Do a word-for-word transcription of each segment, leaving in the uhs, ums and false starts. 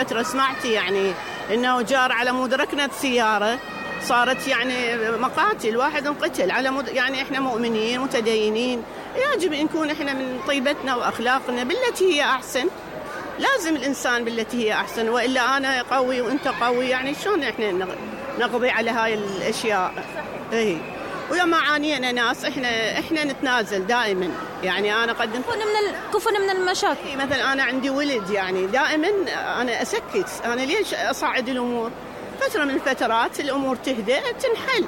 فترة سمعتي يعني انه جار على مود ركنت سيارة صارت يعني مقاتل، واحد انقتل على مود. يعني احنا مؤمنين متدينين، يجب ان نكون احنا من طيبتنا واخلاقنا بالتي هي احسن. لازم الانسان بالتي هي احسن، والا انا قوي وانت قوي، يعني شلون احنا نقضي على هاي الاشياء؟ اي ولما عانينا ناس احنا احنا نتنازل دائما. يعني انا قدمت كفن من كفن من المشاكل. مثلا انا عندي ولد، يعني دائما انا اسكت، انا ليش اصعد الامور؟ فتره من الفترات الامور تهدأ تنحل.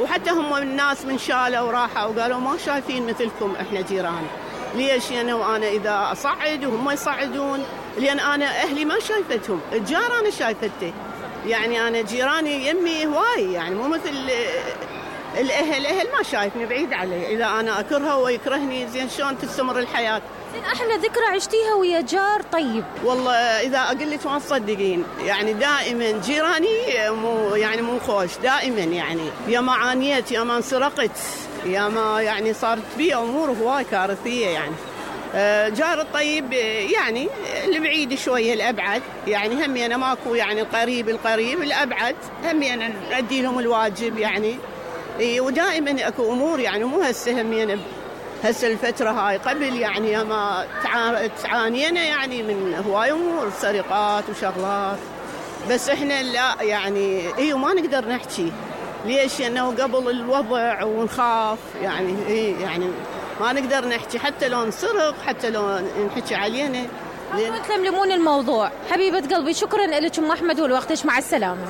وحتى هم الناس من شالوا وراحوا وقالوا ما شايفين مثلكم احنا جيران. ليش؟ يعني وانا اذا اصعد وهم يصعدون، لان انا اهلي ما شايفتهم، الجار انا شايفته. يعني انا جيراني يمي هواي، يعني مو مثل الاهل. اهل ما شايفني، بعيد علي. اذا انا اكرهه ويكرهني، زين شلون تستمر الحياه؟ زين احلى ذكرى عشتيها ويا جار طيب؟ والله اذا اقول لك ما تصدقين، يعني دائما جيراني مو يعني مو خوش دائما. يعني يا ما عانيت، يا ما انسرقت، يا ما يعني صارت بي امور هواي كارثيه. يعني جار الطيب يعني البعيد شويه الابعد، يعني همي انا ماكو يعني القريب القريب الابعد، همي انا ادي لهم الواجب يعني. ودائما اكو امور، يعني مو هسه همي انا هسه الفتره هاي، قبل يعني ما تعانينا يعني من هواي امور، سرقات وشغلات. بس احنا لا يعني ايوه ما نقدر نحكي. ليش؟ لانه قبل الوضع ونخاف، يعني اي يعني ما نقدر نحكي، حتى لو نسرق، حتى لو نحكي علينا. تلملمون الموضوع. حبيبة قلبي شكرا لك ام احمد ولوقتش، مع السلامة.